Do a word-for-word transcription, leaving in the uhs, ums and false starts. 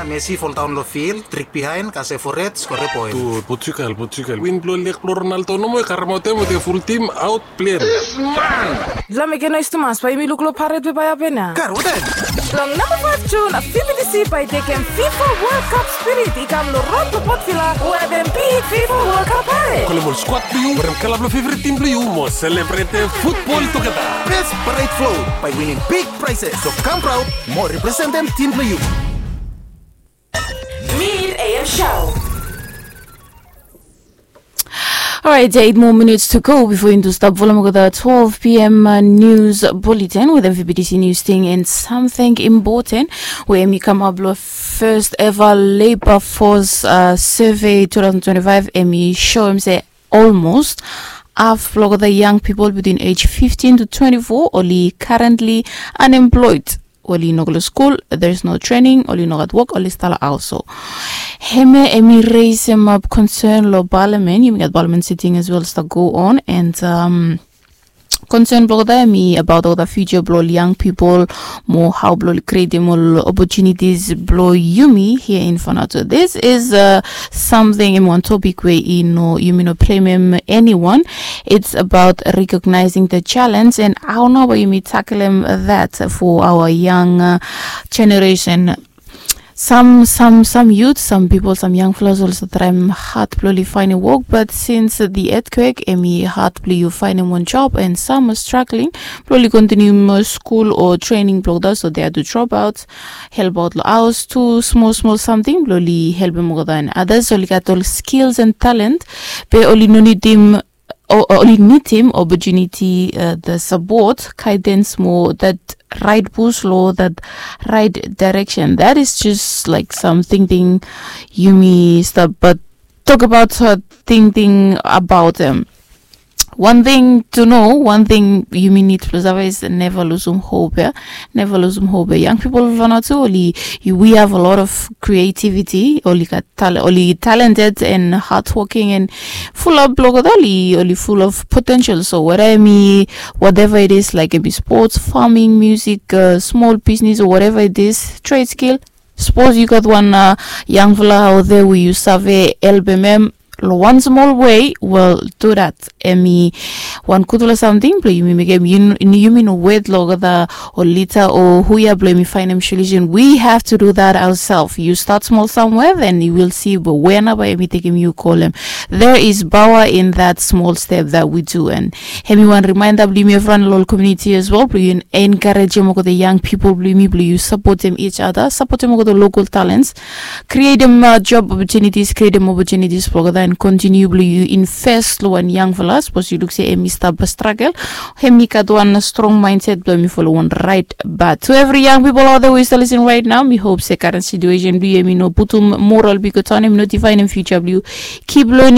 Messi foldaon long fil, trik bihaen, kasem fored, skorem poen. Portugal, Portugal. Win blong leg blong Ronaldo nomo i karemaot hem wetem ful tim aot plen. Long mekem noes tumas bae yumi luk long paret we bae hapen ya. Kar, watem? Long namba faef Jun, V B T C bae i tekem FIFA World Cup spirit i kam long rod blong Port Vila we hem big FIFA World Cup paret. Kolem ol skuad blong yu, werem kala blong fevret tim blong yu mo selebretem futbol tugeta. Best paret float by winning big prizes. So kam praod mo representem tim blong yu. Mid A M show. Alright, eight more minutes to go before yumi stap folem olgeta twelve p.m. News bulletin wetem V B T C News Ting and something important we hemi kamap long first ever labor force survey two thousand twenty-five. Hemi soem se almost half blong olgeta young people between age fifteen to twenty-four oli currently unemployed. Oli no go long skul, there is no training, oli no gat wok, oli stap long haos. So hemia hemi raisem ap concern long parliament. Yumi gat parliament sitting as well stap go on, and um, concern blong olgeta hemi abaot olgeta future blong ol young people, mo hao blong oli createm ol opportunities blong yumi here in Vanuatu. This is uh, something, hemi wan topic we i no, yumi no blamem anyone. It's about recognizing the challenge and hao nao bae yumi takelem that for our young uh, generation. Some, some, some youth, some people, some young fellas oli stap traem had blong oli faenem wok, but since the earthquake hemi had blong yu faenem wan job, and some are struggling blong oli kontinium skul o training blong olgeta, so they had to drop out, help out long haos, tu smol smol samting blong oli helpem olgeta, and others oli gat ol skills and talent be oli no nidim, o- o- oli nidim opportunity, uh, the support, guidance mo that right push lo that right direction. That is just like some tingting yumi stap, but talk about uh, tingting about them. One thing to know, one thing yumi nid blong save is never lusum hope ya. Never lusum hope ya. Young people blong Vanuatu, oli, we have a lot of creativity, oli gat tal- oli talented and hardworking and full up blong olgeta, oli, oli full of potential. So whether hemi, whatever it is, like hemi sports, farming, music, uh, small business or whatever it is, trade skill, sapos yu gat wan uh, yangfala out there we yu save helpem hem long wan smol wei, well, do that. Hemi wan gudfala samting blong yumi mekem, yumi no wet long olgeta ol lida o hu ya blong yumi faenem solution. We have to do that ourselves. You start small somewhere, then you will see where nao bae yumi tekem yu go long hem. There is power in that small step that we do, and hemi wan reminder blong yumi evriwan long ol community as well blong yu encouragem olgeta young people blong yumi blong yu sapotem each other, sapotem olgeta local talents, createm uh, job opportunities, createm opportunities blong olgeta, and continue blong yu invest long wan yangfala. Sapos yu luk se hemi stap struggle, hemi gat wan strong mindset blong hemi folem wan right. But to every young people out there we stap listening right now, mi hope se current situation blong yu hemi no putum moral blong yu go down, hemi no difaenem future blong yu. Keep learning.